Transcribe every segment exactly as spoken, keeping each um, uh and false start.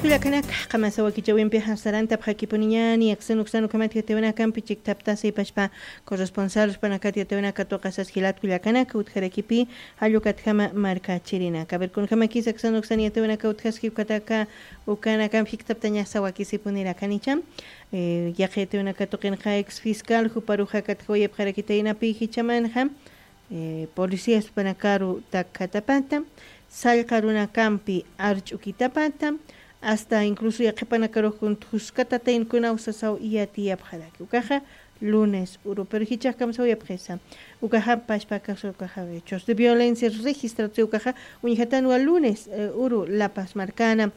Kullakanaka, qamasa wakichawimpi sarantapxakipuniñani, aksan uksan ukhamat yatiyawinakampi chiktaptasa ipashpa corresponsal jupanakata yatiyawinaka tuqasas jilat kullakanaka utjarakipi, jallukatjama markachirinaka. A ver, kunjamakis aksan uksan yatiyawinaka utjaski ukataka, ukanakampi jiktaptañasa wakisipunirakanïcha. Eh, yaqi yatiyawinaka tuqinxa ex fiscal juparuxa katjawayapxarakitaynapi jichhamanxa, eh, policías jupanakaru takkhatapata, sallqa runakampi arch'ukitapata, hasta incluso yaqhipanakarux kun thuskatataynkunaw sasaw yatiyapxaraki. Ukaxa lunes uru, pero jichhax kamsawayapxisa. Ukaxa pashpa caso, ukaxa hechos de violencia registratusi, ukaxa uñjatanwa lunes, eh, uru La Paz markana.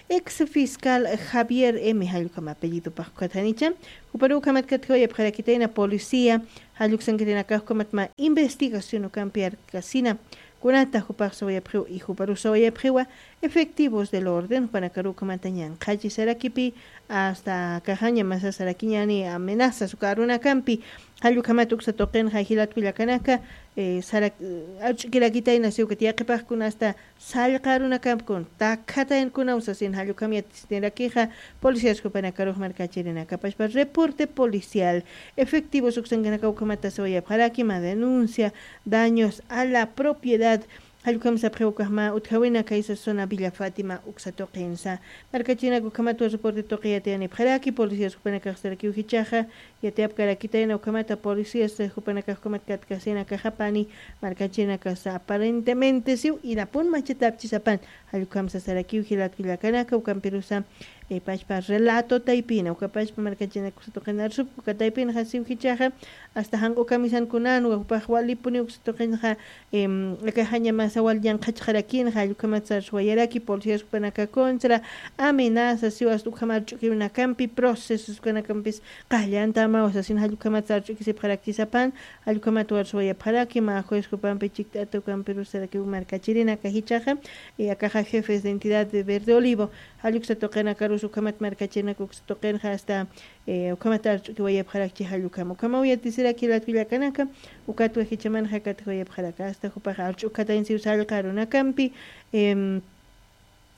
Ex fiscal Javier M. jallukama apellidopax ukatjanicha. Juparu ukhamat katjawayapxarakitayna policía, jalluksankirinakax ukhamat mä investigación ukampi arkasina. Kunata jupax sawayapxiw y juparu sawayapxiwa efectivos del orden, jupanakaru ukhamata ñanqhachi sarakipi, hasta akaxaña masa sarakiñani amenazas uka arunakampi, jallukhamat uksa tuqinxa jilat kullakanaka, eh, sarak-, arch'ukirakitayna siw ukat yaqhipax kun hasta sallqa arunakampi kun takkhataynkuna usasin jallukham yatisnirakixa, policías jupanakarux markachirinaka pashpa reporte policial, efectivos uksankanaka ukhamata sawayapxaraki, mä denuncia, daños a la propiedad, jallukham sapxiw ukax mä utjawina kaysa zona Villa Fátima uksa tuqinsa. Markachirinaka ukhamatwa reporte tuqi yatiyanipxaraki, policías jupanakax sarakiw jichhaxa, yatiyapkarakitayna ukhamata policías, eh, jupanakax ukhamat katkasina akaxapani, markachirinakasa aparentemente siw irapun machatapchisapan, jallukhamsa sarakiw jilat kullakanaka, ukampirusa, eh, pashpa relato taypina, uka pashpa markachirinaka uksa tuqin arsupki, uka taypinxa siw jichhaxa, hasta janq'u kamisankunanwa, jupax walipuni uksa tuqinxa, em, akaxaña masa wal ñanqhachxarakinxa, jallukhamat sarswayaraki, policías jupanaka contra, amenaza, siw hasta ukham arch'ukiwinakampi, procesos ukanakampis, qallantamaw sasin jallukhamat sarch'ukisipxarakchisapan, jallukhamat warswayapxaraki, mä juez jupampi chikt'ata ukampiru sarakiw markachirinaka jichhaxa, y akaxa jefes de entidad de Verde Olivo, jalluksa tuqinakarus ukhamat markachirinaka uksa tuqinxa hasta, eh, ukhamat arch'ukiwayapxarakchi jallukham. Ukhamaw yatisiraki jilat kullakanaka, ukatwa jichhamanxa katjawayapxaraka, hasta jupaxa arch'ukatayn siw sallqa arunakampi, em,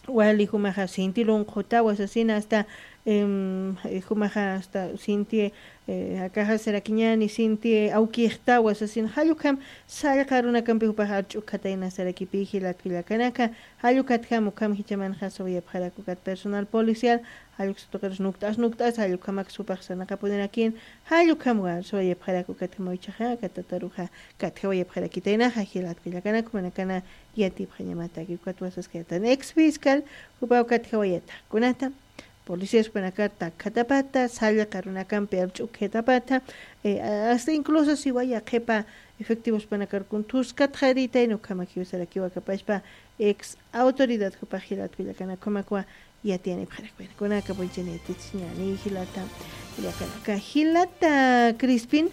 wali jumaxa sinti lunqutawa sasina hasta, em, jumaxa hasta sinti, eh, akaxa sarakiñani sinti awkixtawa sasin jallukham sallqa arunakampi jupaxa arch'ukatayna sarakipi jilat kullakanaka, jallukatjam ukham jichhamanxa sawayapxarak ukat personal policial, jalluksa tuqirus nukt'as nukt'as, jallukhamak jupax sarnaqapunirakin, jallukhamwa sawayapxarak ukatjamaw jichhaxa, aka tataruxa katjawayapxarakitaynaxa, jilat kullakanaka, jumanakana yatipxañamataki, ukatwa saskayatan ex fiscal, jupaw katjawayata. Kunata, policías jupanakar takkhatapata, sallqa arunakampi arch'ukjatapata, eh, hasta incluso siwa yaqhipa efectivos jupanakar kun thuskatxaritayna ukhamakiw sarakiw aka pashpa ex autoridad jupax jilat kullakanaka, ukhamakwa yatiyanipxarak. Bueno, kunaka punchani yatichiñani jilata, kullakanaka, jilata Crispin,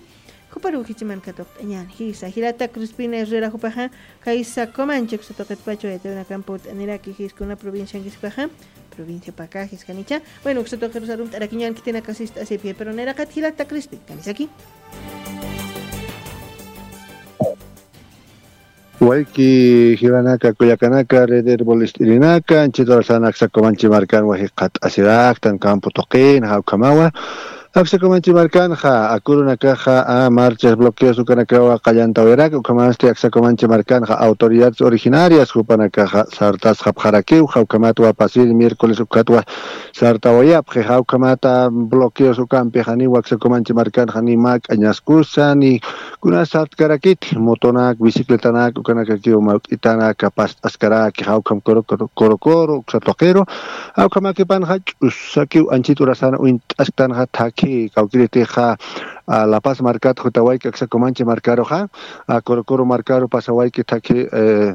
juparu jichhaman katuqt'añani, jisa, jilata Crispin Herrera jupaxa, kaysa Comanche uksa tuqitpacha yatiyawinakampi ut'aniraki, jis kuna provinciankis jupaxa, provincia Pacajes janicha. Bueno, uksa tuqirus arumt'arakiñan khitinaka sist'asipxi, pero nayraqat jilata Crispin, kamisaki. Wayki jilanaka, kullakanaka, red Herbolist'irinaka, anchhit urasana aksa Comanche markanwa jikxatasiraktan campo tuqinxa ukhamawa. Aksa Comanche markanxa, akurunakaxa, a, marchas, bloqueos ukanakawa qallantawayaraki, ukhamasti aksa Comanche markanxa, autoridades originarias jupanakaxa sartasxapxarakiw, ukhamatwa pasir miércoles ukatwa sartawayapxi, ukhamata bloqueos ukampi janiw aksa Comanche markanxa ni mä k'añaskusa, ni kuna sartkarakiti, motonak, bicicletanak, ukanakakiw mawk'itanak past'askaraki, jawkham koro, koro, koro, koro, uksa tuqiru, jawkhamakipanxa ch'usakiw anchhit urasana uñt'asktanxa thakhi, kawkiritixa, a, La Paz markat jutawayki aksa Comanche markaruxa, a, koro, koro markaru pasawayki thakhi, eh,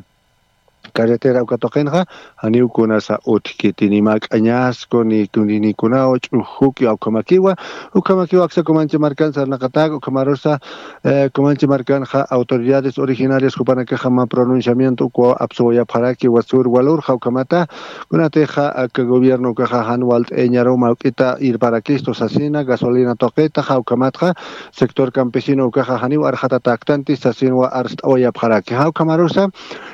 carretera uka tuqinxa, janiw kunasa utjkiti, ni mä k'añasku, ni, ni, ni kunaw ch'ujuki, ukhamakiwa, ukhamakiwa aksa Comanche markan sarnaqatak, ukhamarusa, eh, Comanche markanxa autoridades originarias jupanakaxa mä pronunciamiento ukwa apsuwayapxaraki, wasur walurxa ukhamata, kunatixa aka gobierno ukaxa jan walt'ayañaru mawk'ita irparakistu sasina, gasolina tuqita, jawkhamatxa sector campesino ukaxa janiw arxatatäktanti sasinwa arst'awayapxaraki, jawkhamarusa,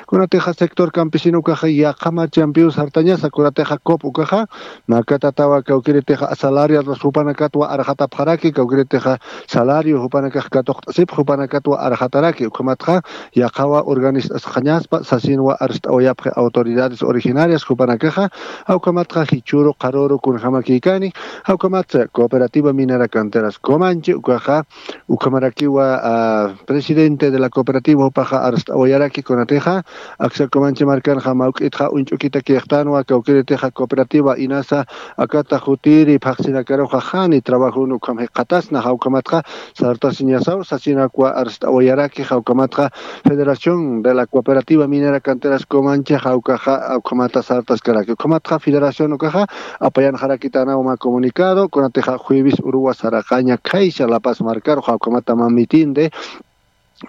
kunatixa sector campesino ukaxa yaqha marchampiw sartañasa kunatixa cop ukaxa makatatawa kawkiritixa asalariados jupanakatwa arxatapxaraki kawkiritixa salario jupanakax katuqt'asipx jupanakatwa arxataraki ukhamatxa yaqhawa urganist'asxañaspa sasinwa arst'awayapxi autoridades originarias jupanakaxa. Awkamatxa jichuru qaruru kunjamakikani awkamatsa cooperativa minera canteras comanchi ukaxa ukhamarakiwa presidente de la cooperativa jupaxa arst'awayaraki kunatixa aksa comanchi markanxa mawk'itxa uñch'ukita kixtanwa kawkiritixa cooperativa inasa akata jutiri phaqsinakaruxa jani trabajun ukham jiqatasna jawkamatxa sartasiñasaw sasinakwa arst'awayaraki jawkamatxa federación de la cooperativa minera canteras comanchi jawkaxa ukhamata sartaskaraki ukhamatxa federación ukaxa apayanxarakitanaw mä comunicado kunatixa jueves uruwa saraqaña khaysa lapas markaru jawkamata mä mitin de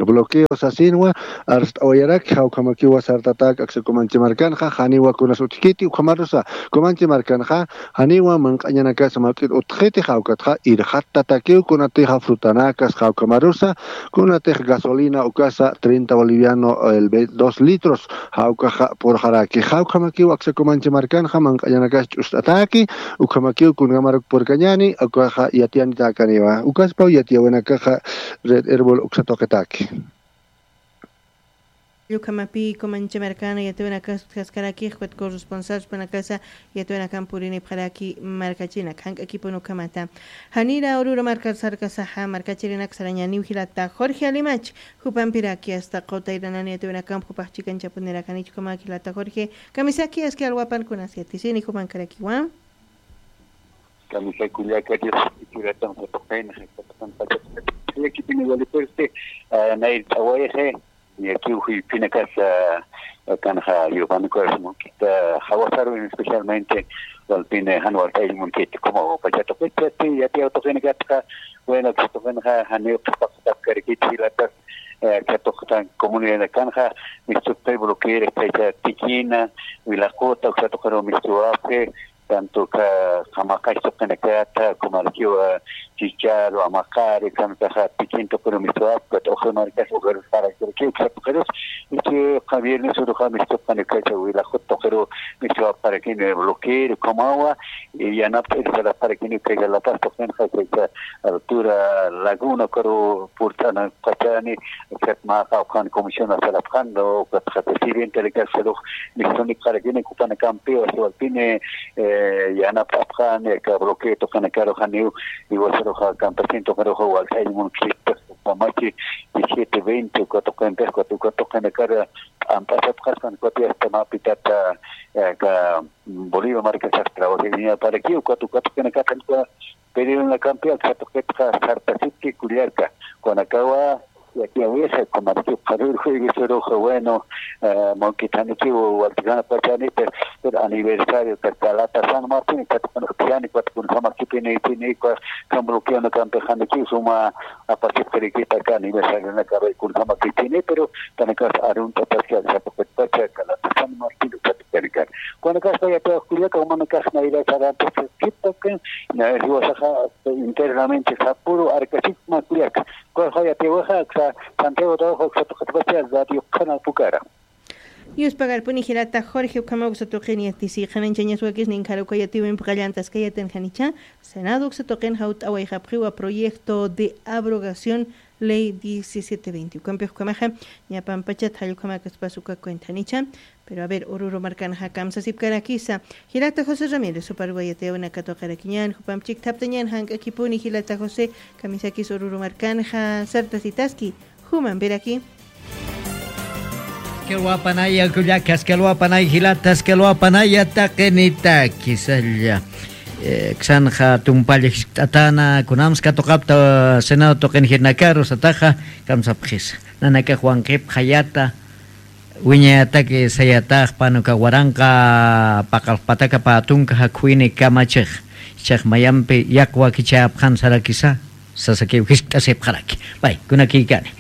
bloqueo sasinwa arst'awayaraki jawkamakiwa sartatak aksa comanchi markanxa janiwa kunas utjkiti ukhamarusa comanchi markanxa janiwa manq'añanakasa mawk'it utjxiti jawkatxa irxattatakiw kunatixa frutanakas jawkamarusa kunatix gasolina ukasa treinta boliviano el ve- dos litros jawkaxa purxaraki jawkamakiw aksa comanchi markanxa manq'añanakas ch'ust'ataki ukhamakiw kunkamaruk purkañani ukaxa yatiyanitakaniwa ukaspaw yatiyawinakaxa red erbol uksatuqitaki. Ukhamapi comanchi markana yatiyawinakas utjaskarakix ukat corresponsalspanakasa yatiyawinakan purinipxaraki markachinak jank'akipun ukhamata. Janira ururu markar sarkasaxa markachirinak sarañaniw jilata jorge alimach jupampiraki asta qutayranani yatiyawinakamp jupax chikanchapunirakanich ukhamak jilata jorge kamisaki aski alwapan kunas yatisini jupankarakiwa. Kamisaki kullaka dios ichuratan jatuqin jatuqin pachata yakipini walipusti. Nayr t'awayxi yakiw juypinakas kanxa yupanikuras munkita jawasarwin especialmente walpini jan walt'ayl munkita como pachatuqit yati yati awtuqinakatqa. Bueno katuqinxa janiw qhipaqtapkarikit jilatas katuqtan comunidad kanxa mistuptay bloqueera kaysa tikina wilaquta uksatuqiru mistuwapxi tanto qamaqax tuqinakata kumarkiwa chicharu amaqari kantaxa tikin tuqiru mistuwapxi ukat uxri markas uxirus parakirki uksatuqirus ichi viernes uruxa mistuqani kaysa wilaqut tuqiru mistuwapxarakini bloqueera kumawa yanapt'ir sarapxarakini kaysa lapas tuqinxa kaysa altura laguna ukaru purt'anapxachani. Ukat mä qawqhan comisión asalapxan ukatxa presidente de casalux nisunipxarakini ukapanakampiw asiwalpini yanapt'apxani aka bloqueo tuqinakaru janiw iwasaruxa campesino tuqiruxa walt'aylla munkista ukamachi diecisiete veinte uka tuqinpix ukat uka tuqinakar p'amp'asapxaspan ukati asta mä pitata aka bolivia markasax trabajiriñaparakiw ukat uka tuqinakar janiwa. Pero nakampi aksa tuqitxa sartasipki kullaka kunakawa yatiyawisa kumarki qharur jueves uruxa bueno mawkitanikiw waltikanapachanita pero aniversario kata lata san martin katakunapchani katakunasamakipini ipini uka kamblukiwanakampi janikiw suma apasipxirikita aka aniversarionakaruy kunasamakipini pero kanakas arunt'ataski aksa tuqitpacha kata lata san martin katakunakan kunakaspa yatiyaw kullaka umanakax nayrasarantasikipakan jiwasaxa internamente sapuru arkasipma kullaka kullaka yatiyawaxa aksa santiago trabajo aksa tuqitpacha radio qhana pukara. Yuspagarpuni jilata jorge ukhama uksa tuqini yatisi qhananchañas wakisnin kharuka yatiwimpi qallantaskayatin janicha senado uksa tuqin jawt'awayxapxiwa proyecto de abrogación ley diecisiete veinte ukampix ukhamaxa ñapampachat jallukhamakaspas uka cuentanicha. Pero a ver ururu markanxa kamsasipkarakisa jilata josé ramírez uparwa yatiyawinakatuqarakiñan jupamp chikthaptañan jank'akipuni jilata josé kamisakis ururu markanxa sartasitaski jumampiraki. Askalwapanaya kullaka askalwapanay jilata askalwapanaya taqinita kisalla. Ksanxa tumpalla jiskt'atana kunams katuqapta senado tuqin jirnakaru sataxa kamsapxisa nanakax wanqipxayata. Wiñayataki sayatax panuka waranqa paqalxpataka pä tunka jakhuyni kamachix ichax mayampi yaqwakichäpxan sarakisa sasakiw jiskt'asipxaraki. Pay kunakïkani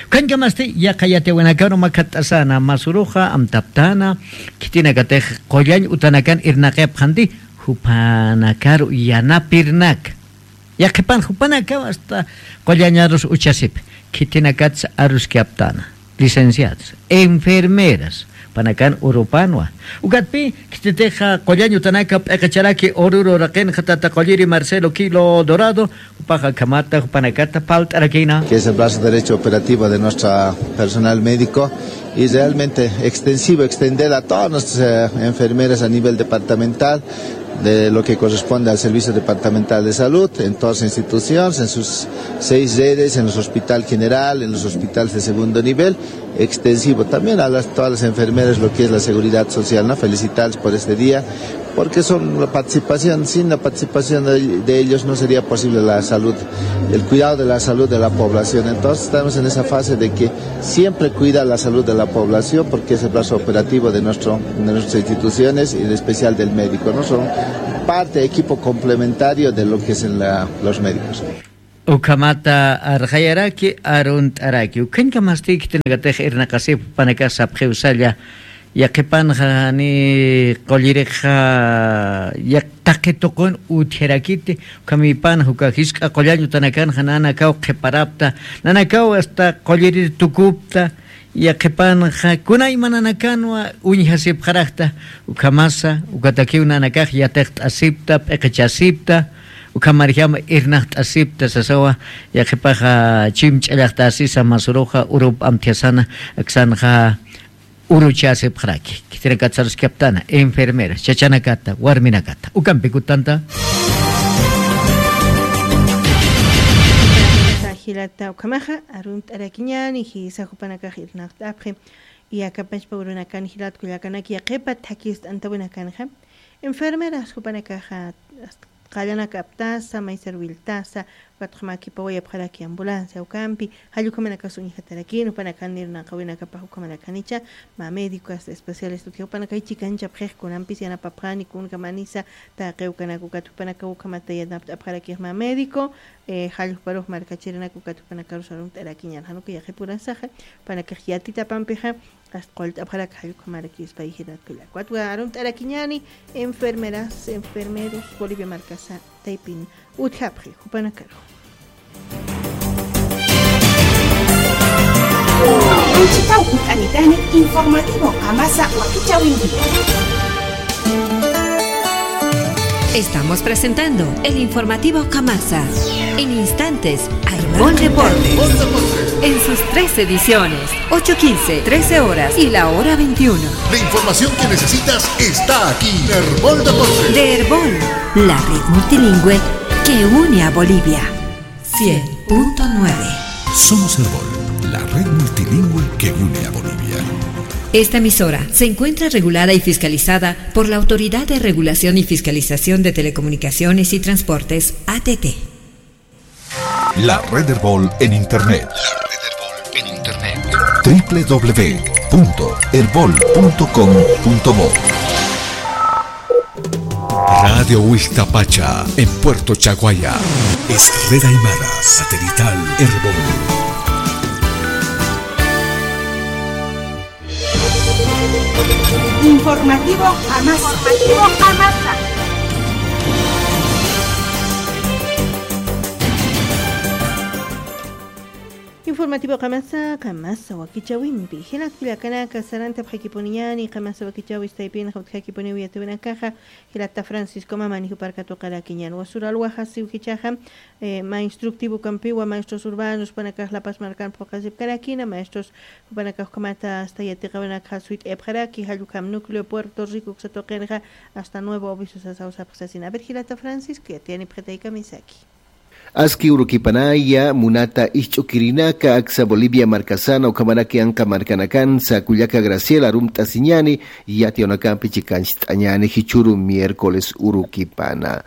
ukhañkamasti yaqha yatiyawinakaru makhatt'asana masuruxa amtaptana khitinakatix qullañ utanakan irnaqipxanti jupanakaru yanapirnaka. Yaqhipan jupanakaw asta qullañarus uchasipi khitinakatsa aruskaptana licenciados enfermeras Panakan urupanwa. Ukatpi, khititixa qullañ utanaka p'iqicharaki ururu raqinxa tata qulliri Marcelo Quilo Dorado, jupaxa akhamata jupanakata palt'arakïna. Que es el brazo derecho operativo de nuestro personal médico y realmente extensivo, extender a todas nuestras, eh, enfermeras a nivel departamental, de lo que corresponde al Servicio Departamental de Salud, en todas las instituciones, en sus seis redes, en los hospital general, en los hospitales de segundo nivel, extensivo. También a las, todas las enfermeras, lo que es la seguridad social, ¿no? Felicitarles por este día, porque son la participación, sin la participación de, de ellos no sería posible la salud, el cuidado de la salud de la población. Entonces estamos en esa fase de que siempre cuida la salud de la población, porque es el brazo operativo de nuestro, de nuestras instituciones y en especial del médico, ¿no? Son parte, equipo complementario de lo que es en la, los médicos. Ukhamata arxayaraki, arunt'araki. Ukhañkamasti khitinakatix irnaqasip jupanakax sapxiw salla. Yaqhipanxa jani qullirixa yaq taqi tuqun utjarakiti. Ukhamipanxa uka jisk'a qullañ utanakanxa nanakaw qhiparapta, nanakaw hasta qullirir tukupta. Yaqhipanxa kunaymanakanwa uñjasipxarakta, ukhamasa ukatakiw nanakax yatiqt'asipta, p'iqichasipta, ukhamarjama irnaqt'asipta sasawa. Yaqhipaxa chimch'allaxtasisa masuruxa urup amthiasana, aksanxa uruchasipxaraki. Khitinakat saruskaptana enfermeras, chachanakata, warminakata, ukampi kutanta. Jilata ukhamaxa arunt'arakiñani jisa jupanakax irnaqt'apxi. Y akapachpa urunakan jilat kullakanaki yaqhipa thakist'antawinakanxa enfermeras jupanakaxa, hasta qallanak aptasa, maysar wiltasa, ukat ukhamakipa wayapxaraki ambulancia ukampi, jall ukhamanakas uñjatarakïn, jupanakan irnaqawinakapax ukhamanakanicha mä médico hasta especialista utji jupanakay chikanchapxix kunampis yanapapxani kunkamanisa, taqi ukanak ukat jupanakaw ukhamata yanapt'apxarakix mä médico, eh, jall juparux markachirinak ukat jupanakarus arunt'arakiñan, jan uka yaqhipurasaxa, jupanakax yatitapampixa, hasta qullt'apxarak jall ukhamarakispay jilat kullak. Ukat arunt'arakiñani enfermeras, enfermeros Bolivia markasa taypin utjapxi jupanakarux. Anchitaw kut'anitani informativo Qamasa wakichäwinpi. Estamos presentando el informativo Qamasa. En instantes, Arbol Deportes. En sus tres ediciones, ocho quince, trece horas y la hora veintiuno. La información que necesitas está aquí. Erbol Deportes. De Erbol, la red multilingüe que une a Bolivia. Cien punto nueve. Somos Erbol, la red multilingüe que une a Bolivia. Esta emisora se encuentra regulada y fiscalizada por la Autoridad de Regulación y Fiscalización de Telecomunicaciones y Transportes, A T T. La red Erbol en Internet. La red Erbol en Internet. W W W punto erbol punto com punto bo. Radio Huixtapacha, en Puerto Chaguaya. Es red aymara satelital Erbol. Informativo Qamasa. Informativo Qamasa. Informativo Qamasa, Qamasa wakichäwimpi. Jilat kullakanaka, sarantapxakipuniñani Qamasa wakichäwis taypinxa utjakipuniw yatiyäwinakaxa, jilata Francisco Mamani jupar katuqarakiñan. Wasür alwa jasiw jichhaxa, eh, mä instructivo ukampiwa maestros urbanos jupanakax La Paz markan phuqhasipkarakïna, maestros jupanakax ukhamata hasta yatiqäwinakxa suyt'ayapxaraki, jall ukham Núcleo Puerto Rico uksa tuqinxa hasta Nuevo Obiso sasaw sapxi sasina. A ver, jilata Francisco, yatiyanipxitaykamisaki. Aski urukipanaya munata ist'ukirinaka aksa Bolivia markasana ukhamaraki anqa markanakansa kullaka Graciela arumt'asiñani, yatiyäwinakampi chikancht'añani jichhüru miércoles urukipana.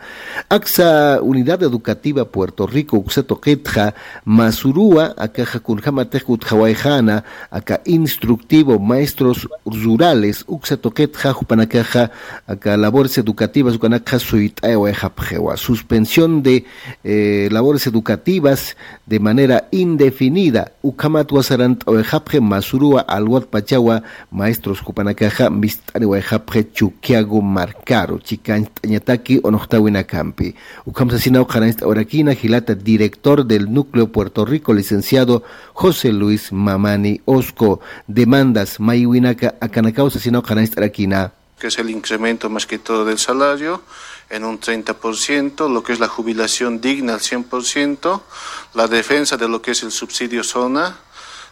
Aksa Unidad Educativa Puerto Rico uksa tuqitxa, masuruwa akaxa kunjämatix utjawayxäna, aka instructivo maestros rurales uksa tuqitxa jupanakaxa, aka labores educativas ukanakxa suyt'ayawayxapxiwa. Suspensión de, eh, labores educativas de manera indefinida. Ukhamatwa sarant'awayxapxi Masuruwa alwat pachawa maestros jupanakaxa mist'aniwayxapxi Chukiago markaru chikancht'añataki unuxtawinakampi. Ukham sasinaw qhanañcht'awarakïna jilata director del Núcleo Puerto Rico, licenciado José Luis Mamani Osco. Demandas maywinaka akanakaw sasinaw qhanañcht'arakïna. Que es el incremento más que todo del salario en un treinta por ciento, lo que es la jubilación digna al cien por ciento, la defensa de lo que es el subsidio zona.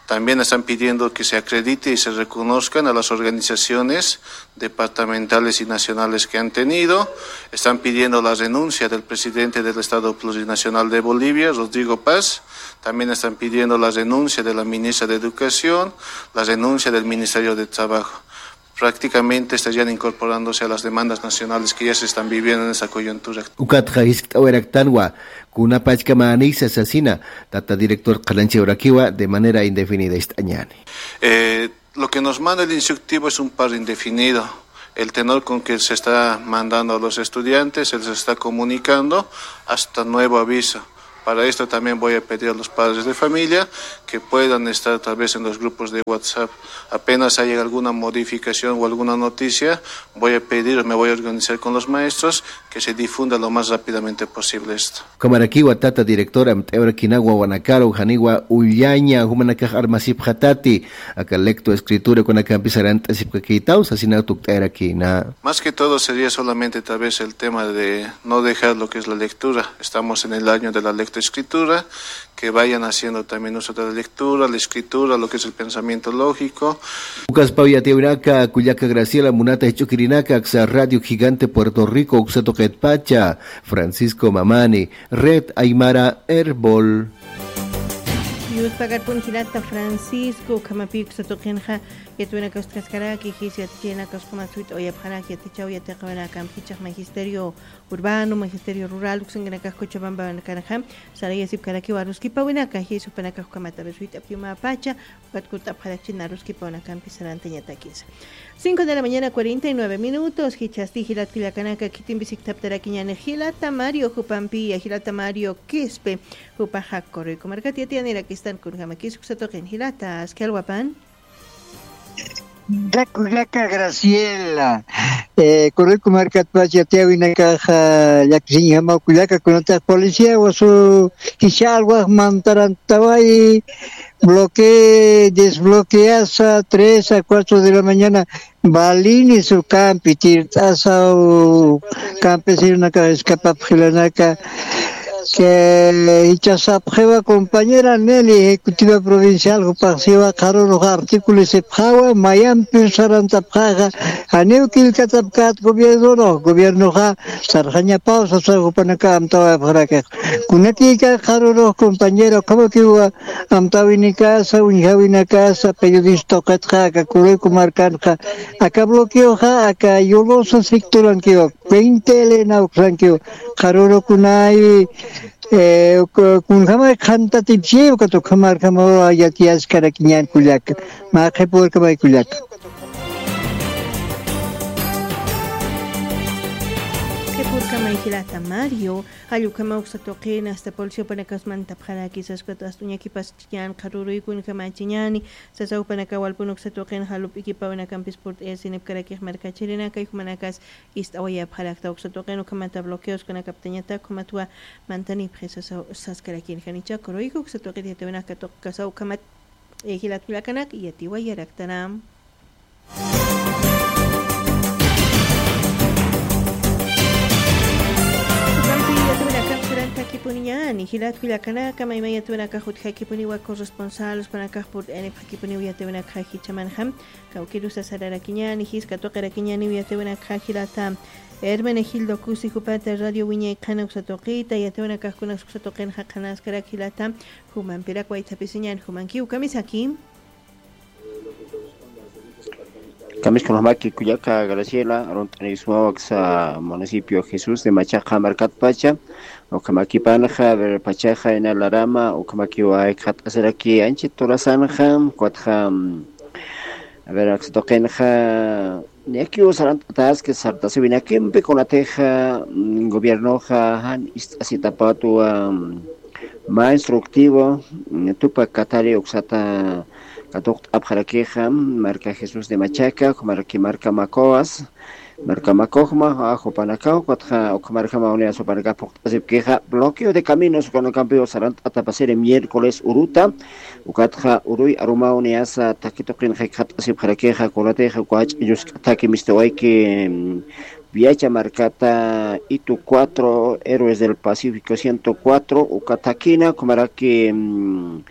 También están pidiendo que se acredite y se reconozcan a las organizaciones departamentales y nacionales que han tenido. Están pidiendo la renuncia del presidente del Estado Plurinacional de Bolivia, Rodrigo Paz. También están pidiendo la renuncia de la ministra de Educación, la renuncia del Ministerio de Trabajo. Prácticamente estarían incorporándose a las demandas nacionales que ya se están viviendo en esta coyuntura. Ukatxa jiskt'awayaraktanwa kunapachkamänisa sasina, tata director qhanañchawarakiwa de manera indefinida ist'añäni. Eh, lo que nos manda el instructivo es un paro indefinido. El tenor con que se está mandando a los estudiantes, se les está comunicando hasta nuevo aviso. Para esto también voy a pedir a los padres de familia que puedan estar tal vez en los grupos de WhatsApp. Apenas haya alguna modificación o alguna noticia, voy a pedir, me voy a organizar con los maestros que se difunda lo más rápidamente posible esto. Kamarakiwa tata director, amt'ayarakïna wawanakaru janiwa ullaña jumanakax armasipxatati, aka lectoescritura kunakampis sarant'asipkakïtaw sasinaw tukt'ayarakïna. Más que todo sería solamente tal vez el tema de no dejar lo que es la lectura. Estamos en el año de la lectoescritura, que vayan haciendo también uso de la lectura, la escritura, lo que es el pensamiento lógico. Ukaspaw yatiyäwinaka kullaka Graciela, munata jich'ukirinaka, aksa Radio Gigante Puerto Rico uksa tuqitpacha, Francisco Mamani, Red Aymara Erbol. Yuspagarpun jilata Francisco, ukhamapï uksa tuqinxa yatiyäwinaka utjaskaraki, jis yatichäwinaka ukhama suyt'awayapxaraki, yatichäw yatiqawinakamp jichhax magisterio urbano, magisterio rural uksankanakax Cochabambanakanxa sarayasipkarakiwa aruskipawinaka, jis jupanakax ukhamat a ver suyt'apxi umapacha, ukat kut'apxarakchina aruskipawinakampi sarantañatakisa. Cinco de la mañana, cuarenta y nueve minutos, jichhasti jilat kullakanaka, khitimpi sikthaptarakiñäni jilata Mario jupampiya, jilata Mario Quispe, jupaxa Correco markat yatiyanirakistan kunjamakis uksa tuqin jilata, aski alwapan. Kullaka Graciela, eh, Correco markatpach yatiyäwinakaxa, llakisiñjamaw kullaka, kunatax policía wasu jichha alwax mantarantawayi, bloque, desbloqueasa tres a cuatro de la mañana, balines ukampi tirt'asaw, campesinos escapapxilanaka, que jichhasapxiwa compañera Nelly, ejecutiva provincial, jupax siwa qharürux artículo sipxawa, mayampi sarantapxaxa, janiw killkatapkät gobiernorux, gobiernoxa sarxañapaw sasa jupanaka amtawayapxarakix. Kunakïka qharürux compañera, ukhamakiwa amtäwinikasa, uñjawinakasa, periodista tuqitxa, aka Correco markanxa, aka bloqueoxa, aka Yolosa sectorankiwa, Puente Elena uksankiwa, qharürukunay, eh, uk-, kunjamay qhantatipchi, ukat ukhamarjamaw yatiyaskarakiñän kullaka, mä qhipuwarkamay kullaka. Qhipuwarkamay jilata Mario, jall ukhama uksa tuqin, hasta policía jupanakas mantapxaraki, saskat hasta uñakipas chiñän, qharüruykunjamachiñäni, sasa jupanaka walpun uksa tuqin, jall up'ikipawinakampis purt'ayasinipkarakix markachirinaka, y jumanakas ist'awayapxarakta uksa tuqin, ukhamata bloqueos kunakaptañatak, ukhamatwa mantanipxi sasa saskarakinxa. Janicha Correco uksa tuqit yatiyäwinaka tuqkasaw ukhamat, eh, jilat kullakanak, yatiwayaraktanam. Ukampi yatiyäwinakax sarantxakipuniñäni, jilat kullakanaka, mayma yatiyäwinakax utjakipuniwa corresponsal, jupanakax purt'ayanipxakipuniw yatiyäwinakxa jichhamanxa, kawkïrusa sararakiñäni, jisk'a tuqirakiñäniw yatiyäwinakxa jilata Hermenegildo Cusi jupata Radio Wiñay Qhana uksa tuqita, yatiyäwinakax kunas uksa tuqinxa qhanaskarak jilata, jumampirak waythapisiñäni, jumankiw kamisaki. Kamisaki kunjamaki kullaka Graciela, arunt'anïsmaw aksa municipio Jesús de Machaca markatpacha, ukhamakipanxa, a ver, pachaxa ina larama, ukhamakiwa jikxatasaraki anchhit turasanxa, ukatxa, mm, a ver, aksa tuqinxa, Niyakiw sarant'ataski sartasiwinakimpi kunatixa, mm, gobiernoxa jan ist'asitapatwa, mm, mä instructivo, mm, Tupak Katari uksata katuqt'apxarakixa, mm, marka Jesús de Machaca, ukhamaraki marka Macoas, marka Macojma, a, jupanakaw, ukatxa, ukhamarjama unidad jupanaka phuqt'asipkixa, bloqueo de caminos, ukanakampiw sarant'atapasiri miércoles uruta, ukatxa uruy arumaw niyasa takituqin jikxat'asipxarakixa, kunatixa uka jach'a llusk'ataki mistiwayki, mm, Viacha markata, Itu cuatro, Héroes del Pacífico ciento cuatro, uka thakina, ukhamaraki, mm,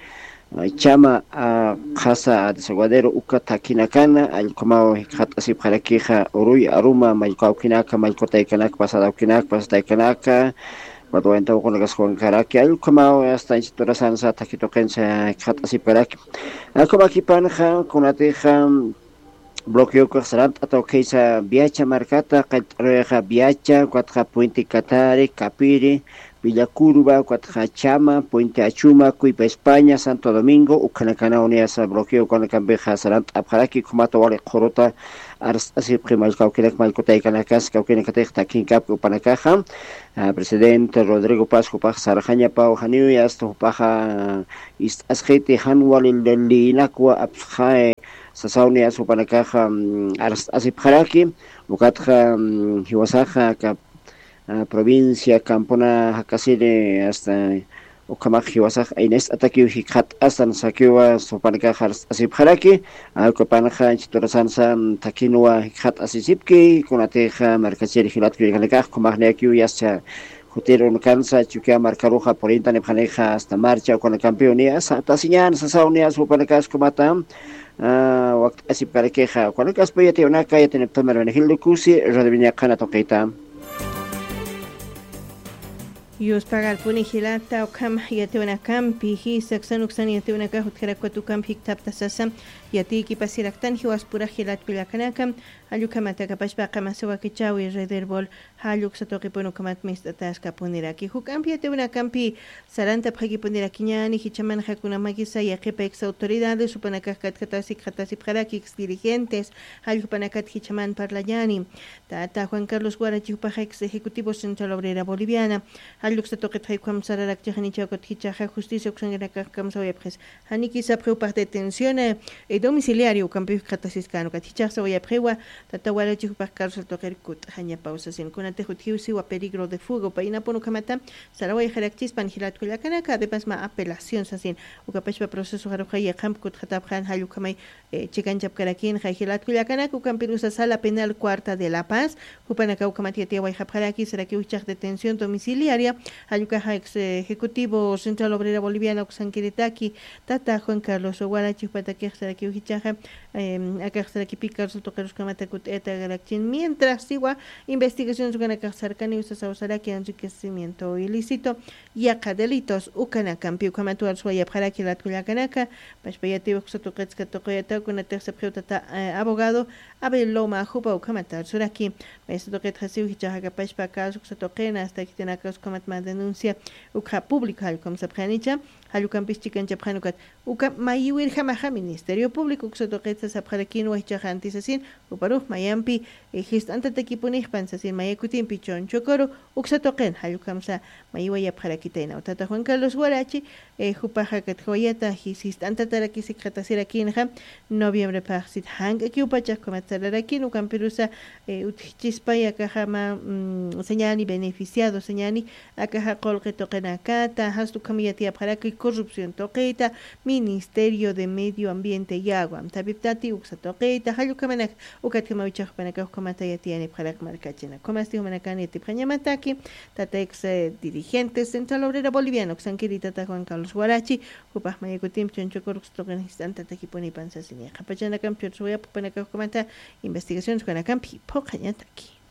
Chama, a, qhasa, a, desaguadero, uka thakinakana, allqumaw jikxat'asipxarakixa, uruy aruma, mallkawkinaka, mallkutaykanaka, pasadawkinaka, pasataykanaka, watwayantawkunakas juwankaraki, allqumaw, hasta inchiturasansa, thakituqinsa, jikxat'asipxaraki. Allqumakipanxa, kunatixa, bloqueo sarant'ata ukisa Viacha markata, qallt'aruyaxa Viacha, ukatxa Puente Katari, Capiri, Villa Curva, ukatxa Chama, Puente Achuma, Cuipa España, Santo Domingo, ukhanakana uniyasa bloqueo ukanakampixa sarant'apxaraki, ukhamata wali qhuruta arst'asipxi mallkawkinak, mallkutaykanakas, kawkinakatix thakinkapki jupanakaxa, a, presidente Rodrigo Paz jupax sarxañapaw janiw yasta jupaxa ist'asxiti jan wali liyinakwa apsxay, sasaw niyas jupanakaxa, mm, arst'asipxaraki, ukatxa, mm, jiwasaxa aka, a, provincia Campuna jakasiri hasta ukhamax jiwasax aynist'atakiw jikxat'astan sakiwa jupanakax arst'asipxaraki, allqupanxa inchiturasansa, mm, thakinwa jikxat'asisipki, kunatixa markachiri jilat kullakanakax, ukhamax niyakiw yascha jutir unukansa, Chukiyaw markaruxa purintanipxanixa hasta marcha ukanakampiw niyas, tasiñan sasaw niyas jupanakas ukhamata, a, wakt'asipkarakixa, ukanakaspa yatiwanaka, yatiniptamir Benegildo Kusi, Radio Viña qhana tuqita. Yuspagarpuni jilata, ukham yatiwanakampi, jisa uksan uksan yatiwanaka jutjarakwat ukampi jikthapta sasa, yatiykipasiraktan jiwaspurax jilat kullakanaka, jall ukhamat akapachpa qamasa wakichäwi Rederbol, jall uksa tuqipun ukhamat mist'ataskapuniraki. Juk'ampi yatiwanakampi sarantapxakipunirakiñäni, jichhamanxa kunamakisa yaqhipa ex autoridades, jupanakax katjatasi, jikxatasipxaraki ex dirigentes, jall jupanakat jichhaman parlañäni. Tata Juan Carlos Guarachi jupaxa ex ejecutivo Central Obrera Boliviana, jall uksa tuqitxa ukham sararakchixanicha, ukat jichhaxa justicia uksankanakax kamsawayapxis. Janiki sapxi jupax detención, eh, eh, domiciliario ukampiw jikxatasiskän, ukat jichhax sawayapxiwa, tata Guarachi jupax cárcel tuqir kut'xañapaw sasin. Kunatix utjiw siwa peligro de fuga, jupaynapun ukhamata sarawayxarakchispan jilat kullakanaka, además mä apelación sasin. Ukapachpa procesoxaruxa yaqhamp kutxatapxän, jall ukhamay, eh, chikanchapkarakinxa jilat kullakanaka, ukampirusa Sala Penal Cuarta de La Paz, jupanakaw ukhamat yatiyawayxapxaraki, sarakiw jichhax detención domiciliaria, jall ukaxa ex ejecutivo Central Obrera Boliviana uksankiritaki, tata Juan Carlos Guarachi jupatakix sarakiw jichhaxa, em, akax sarakipi cárcel tuqirus ukhamata kut'ayatarakchin, mientras siwa investigaciones ukanakax sarkaniw sasaw saraki enriquecimiento ilícito, yaqha delitos ukanakampi ukhamat warswayapxaraki jilat kullakanaka, pachpa yatiw uksa tuqitsa tuqiyataw, kunatix sapxiw tata, eh, abogado Abel Loma jupa ukhamat arsuraki. Maysa tuqitxa siw jichhax akapachpa caso uksa tuqina, hasta khitinakas ukhamat mä denuncia ukxa público jall ukham sapxanicha, jall ukampis chikanchapxän ukat, uka mayiwirjamaxa Ministerio Público uksa tuqitsa sapxarakinwa jichhax anti sasin, juparux mayampi, eh, jist'antatakipunixpan sasin, maya kutimpi chunchukuru uksa tuqin, jall ukhamsa mayiwayapxarakitaynaw. Tata Juan Carlos Guarachi, eh, jupaxa katjawayata jis-, jist'antatarakis jikxatasirakinxa, noviembre phaxsit jank'akiw pachax ukhamat sararakin, ukampirusa, eh, utjchispay akaxa mä, mm, sañäni beneficiado, sañäni akaxa qullqi tuqinakata, jast ukham yatiyapxaraki corrupción tuqita, Ministerio de Medio Ambiente y Agua, amtapiptati uksa tuqita, jall ukhamanak, ukatjamaw jichhax jupanakax ukhamata yatiyanipxarak markachinak. Ukhamasti jumanakan yatipxañamataki, tata ex, eh, dirigente Central Obrera Boliviana uksankiri tata Juan Carlos Guarachi, jupax maya kutimpi chunchukur uksa tuqin jist'antatakipunipan sasini. Qhapachanakamp chursuwayap jupanakax ukhamata investigaciones jukanakampi phuqhañataki.